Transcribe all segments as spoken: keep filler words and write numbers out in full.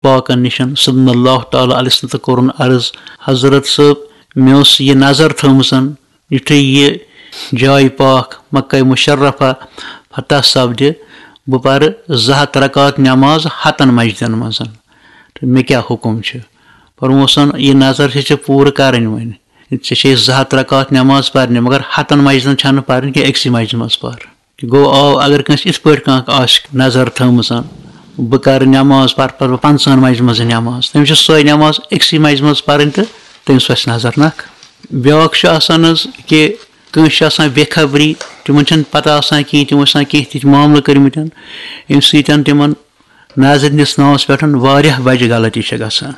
پاکن نِش صلی اللہ تعالیٰ علیہ وسلم تہٕ کوٚرُن عرض، "حضرت صٲب، مےٚ ٲس یہِ نظر تھٲومٕژ، یُتھُے یہِ جاے پاک مکہ مشرفہ فتح سپدِ، بہٕ پرٕ زٕ ہتھ رکعت نماز ہتن مسجدن منٛز، تہٕ مےٚ کیٛاہ حُکم چھُ؟" فرموسن، "یہِ نظر چھِ ژےٚ پوٗرٕ کرٕنۍ وۄنۍ، ژےٚ چھے زٕ ہتھ رکعت نماز پرنہِ، مگر ہتن مسجدن چھنہٕ پرٕنۍ کینٛہہ، أکسٕے مسجدِ منٛز پر۔" گوٚو، آو اگر کٲنٛسہِ یِتھ پٲٹھۍ کانٛہہ آسہِ نظر تھٲومٕژ، "بہٕ کَرٕ نٮ۪ماز، پَرٕ پَرٕ بہٕ پنٛژٕہَن مَجہِ منٛز نٮ۪ماز"، تٔمِس چھِ سۄے نٮ۪ماز أکسٕے مَجہِ منٛز پَرٕنۍ تہٕ تٔمِس وَسہِ نظر نَکھ۔ بیٛاکھ چھُ آسان حظ کہِ کٲنٛسہِ چھِ آسان بے خبری، تِمَن چھَنہٕ پَتہ آسان کِہیٖنۍ، تِمو چھِ آسان کینٛہہ تِتھۍ معاملہٕ کٔرمٕتۍ، ییٚمہِ سۭتۍ تِمَن نظرِ دِنَس ناوَس پٮ۪ٹھ واریاہ بَجہِ غلطی چھِ گژھان۔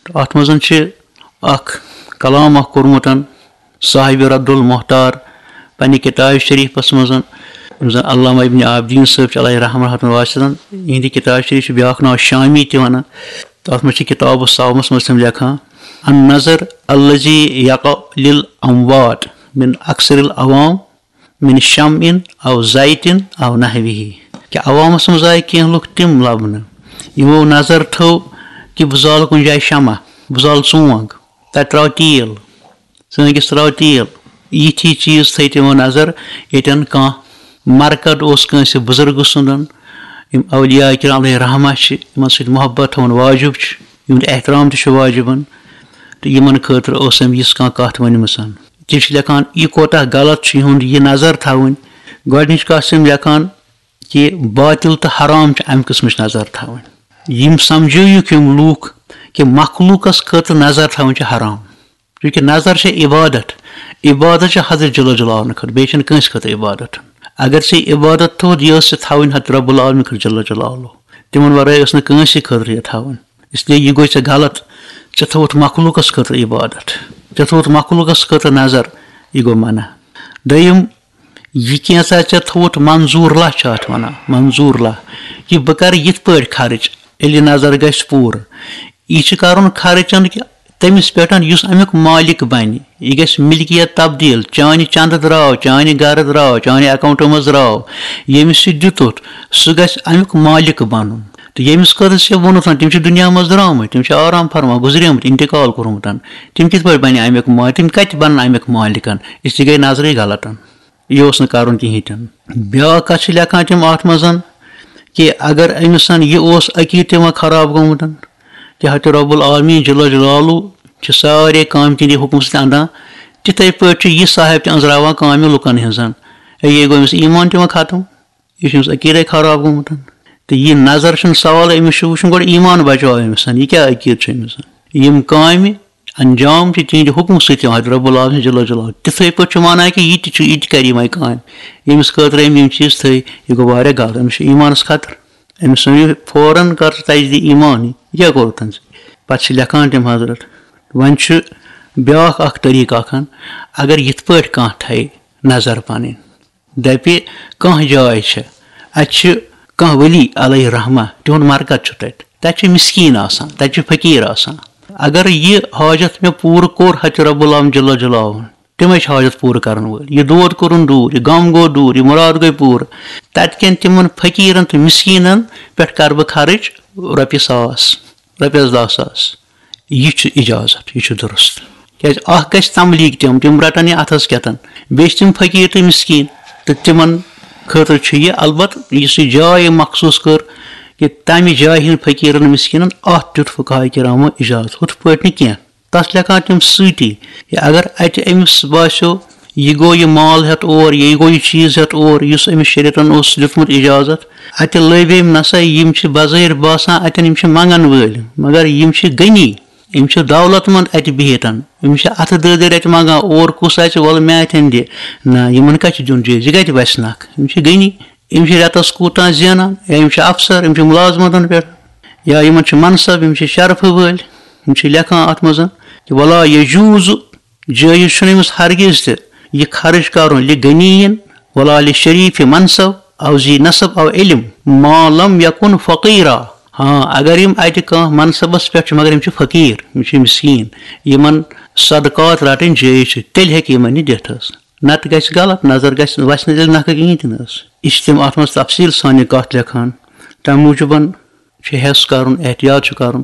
تہٕ اَتھ منٛز چھِ اَکھ کلام اَکھ کوٚرمُت صاحب رد المحتار پننہِ کتاب شریفس منٛز، یِم زن علامہ ابن عابدین صٲب چھِ علیہ رحمہ رحمتہ واسعہ، یِہنٛدِ کتاب شریف چھِ بیٛاکھ ناو شامی تہِ ونان۔ تہٕ اتھ منٛز چھِ کتاب الصومس منٛز تِم لیکھان، "النظر الذي يقع للاموات من اکثر العوام من شمع او زیت او نحوه"، کہِ عوامس منٛز آیہِ کینٛہہ لُکھ تِم لبنہٕ، یِمو نظر تھٲو کہِ بہٕ زالہٕ کُنہِ جایہِ شمع، بہٕ زالہٕ ژونٛگ، تتہِ ترٛاو تیٖل، ژٲنٛگِس ترٛاو تیٖل۔ یِتھۍ چیٖز تھٲے تِمو نظر، ییٚتٮ۪ن کانٛہہ مرقد اوس کٲنٛسہِ بُزرگہٕ سُنٛدن، یِم اولیاء کرام علیہ رحمہ چھِ، یِمن سۭتۍ محبت تھاوُن واجب چھُ، یِہُنٛد احترام تہِ چھُ واجبن، تہٕ یِمن خٲطرٕ اوس أمۍ یِژھ کانٛہہ کتھ ؤنمٕژ۔ تِم چھِ لیکھان، یہِ کوتاہ غلط چھُ یِہُنٛد یہِ نظر تھاوٕنۍ۔ گۄڈٕنِچ کتھ چھِ یِم لیکھان کہِ باطل تہٕ حرام چھِ امہِ قٕسمٕچ نظر تھاوٕنۍ۔ یِم سمجھٲیِکھ یِم لوٗکھ کہِ مخلوٗقس خٲطرٕ نظر تھاوٕنۍ چھِ حرام۔ چونکہ نظر چھِ عبادت، عبادت چھِ حضرت جل جلالہ خٲطرٕ، بیٚیہِ چھَنہٕ کٲنٛسہِ خٲطرٕ عبادت۔ اگر ژےٚ عبادت تھوٚد، یہِ ٲس ژےٚ تھاوٕنۍ حضرت رب العالمین خٲطرٕ جل جلالہ، تِمن ورٲے ٲس نہٕ کٲنٛسہِ خٲطرٕ یہِ تھاوٕنۍ۔ اس لیے یہِ گوٚو ژےٚ غلط، ژےٚ تھوٚوُتھ مخلوقس خٲطرٕ عبادت، ژےٚ تھوٚوُتھ مخلوقس خٲطرٕ نظر، یہِ گوٚو منع۔ دوٚیِم، یہِ کینٛژھا ژےٚ تھوٚوُتھ منظور لہ چھِ اتھ ونان، منظور لہ، یہِ بہٕ کرٕ یِتھ پٲٹھۍ خرٕچ، ییٚلہِ نظر گژھِ پوٗرٕ۔ یہِ چھُ کرُن خرچن کہِ تٔمِس پٮ۪ٹھ یُس امیُک مالک بنہِ، یہِ گژھِ ملکیت تبدیل، چانہِ چندٕ درٛاو، چانہِ گرٕ درٛاو، چانہِ اکاؤنٹہٕ منٛز درٛاو، ییٚمِس یہِ دیُتُتھ، سُہ گژھِ امیُک مالک بنُن۔ تہٕ ییٚمِس خٲطرٕ ژےٚ ووٚنُتھ، تِم چھِ دُنیا منٛز درٛامٕتۍ، تِم چھِ آرام فرما گُزریمٕتۍ، انتقال کوٚرمُت، تِم کِتھ پٲٹھۍ بنہِ امیُک مالک؟ تِم کتہِ بنن امیُک مالکن؟ أسۍ تہِ گٔے نظرٕے غلطن۔ یہِ اوس نہٕ کرُن کِہیٖنۍ تہِ نہٕ۔ بیٛاکھ کتھ چھِ لیکھان تِم اتھ منٛز کہِ اگر أمِس یہِ اوس عقیٖدٕ تہِ وۄنۍ خراب گوٚمُت، کہِ حضرت رب العالمین جل جلالہ چھِ سارے کامہِ تِہنٛدِ حُکمہٕ سۭتۍ اندان، تِتھے پٲٹھۍ چھُ یہِ صاحب تہِ أنٛزراوان کامہِ لُکن ہٕنٛزن۔ ہے، یہِ گوٚو أمِس ایمان تہِ وۄنۍ ختم، یہِ چھُ أمِس عقیٖدے خراب گوٚمُت۔ تہٕ یہِ نظر چھُنہٕ سوالٕے، أمِس چھُ وٕچھُن گۄڈٕ ایمان بچاو أمِس، یہِ کیٛاہ عقیٖدٕ چھُ أمِس۔ یِم کامہِ انجام چھِ تِہنٛدِ حُکمہٕ سۭتۍ یِوان، حضرت رب العالمین جل جلالہ۔ تِتھے پٲٹھۍ چھُ مانان کہِ یہِ تہِ چھُ، یہِ تہِ کرِ یِمے کامہِ، ییٚمِس خٲطرٕ أمۍ یِم چیٖز تھٲے، یہِ گوٚو واریاہ غلط، أمِس چھُ ایمانس خطرٕ۔ أمِس ؤنِو فوراً، کر ژٕ تجدید ایمان، یہِ کیٛاہ کوٚرُتھ ژےٚ؟ پتہٕ چھِ لیکھان تِم حضرت۔ وۄنۍ چھُ بیٛاکھ اکھ طریٖقہٕ اکھ، اگر یِتھ پٲٹھۍ کانٛہہ تھایہِ نظر پنٕنۍ، دپہِ کانٛہہ جاے چھِ، اتہِ چھِ کانٛہہ ولی علیہ رحمہ، تِہُنٛد مرقد چھُ تتہِ، تتہِ چھِ مسکیٖن آسان، تتہِ چھِ فقیٖر آسان۔ اگر یہِ حاجت مےٚ پوٗرٕ کوٚر حضرت رب العالمین جل جلالہ، تِمے چھِ حاجت پوٗرٕ کرن وٲلۍ۔ یہِ دود کوٚرُن دوٗر، یہِ غم گوٚو دوٗر، یہِ مُراد گٔے پوٗرٕ۔ تتہِ کٮ۪ن تِمن فقیٖرن تہٕ مسکیٖنن پٮ۪ٹھ کرٕ بہٕ خرٕچ رۄپیہِ ساس، رۄپیس دَہ ساس۔ یہِ چھُ اجازت، یہِ چھُ درست۔ کیازِ اکھ گژھِ تملیٖگ تِم، تِم رٹن یہِ اتھس کٮ۪تن۔ بیٚیہِ چھِ تِم فقیٖر تہٕ مسکیٖن، تہٕ تِمن خٲطرٕ چھُ یہِ، البتہٕ یُس یہِ جاے أمۍ مخصوٗص کٔر کہِ تمہِ جایہِ ہٕنٛدۍ فقیٖرن مسکیٖنن، اتھ دیُت فقہاء کرامو اجازت، ہُتھ پٲٹھۍ نہٕ کینٛہہ۔ تس لیکھان تِم سۭتی، یا اگر اتہِ أمِس باسیو، یہِ گوٚو یہِ مال ہٮ۪تھ اور، یا یہِ گوٚو یہِ چیٖز ہٮ۪تھ اور، یُس أمِس شریعتن اوس دیُتمُت اجازت، اتہِ لٔبۍ أمۍ، نسا یِم چھِ بظٲہر باسان اتٮ۪ن یِم چھِ منگن وٲلۍ، مگر یِم چھِ غنی، یِم چھِ دولت مند اتہِ بِہِتھ، یِم چھِ اتھٕ دٲدٕرۍ اتہِ منگان، اور کُس اژِ، وَلہٕ مےٚ اتٮ۪ن دِ۔ نہ، یِمن کتہِ چھُ دیُن جٲیزٕ، یہِ کتہِ وسہِ نکھ؟ یِم چھِ غنی، یِم چھِ رٮ۪تس کوٗتاہ زینان، یا یِم چھِ افسر، یِم چھِ مُلازمتن پٮ۪ٹھ، یا یِمن چھُ منصب، یِم چھِ شرفہٕ وٲلۍ، یِم چھِ لیکھان اتھ منٛز کہِ ولا یجوز، جٲیز چھُنہٕ أمِس ہرگز تہِ یہِ خرٕچ کرُن لِغنیین ولا لِشریٖفِ منصب او ذی نسب او علم ما لم یکن فقیرا۔ ہاں، اگر یِم اتہِ کانٛہہ منصبس پٮ۪ٹھ چھِ، مگر یِم چھِ فقیٖر، یِم چھِ مسکیٖن، یِمن صدقات رٹٕنۍ جٲیز چھِ، تیٚلہِ ہیٚکہِ یِمن یہِ دِتھ حظ۔ نتہٕ گژھِ غلط، نظر گژھِ، وسہِ نہٕ تیٚلہِ نکھٕ کِہیٖنۍ تہِ نہٕ حظ۔ یہِ چھِ تِم اتھ منٛز تفصیٖل سان یہِ کتھ لیکھان۔ تمہِ موٗجوٗبن چھُ حٮ۪س کرُن، احتیاط چھُ کرُن۔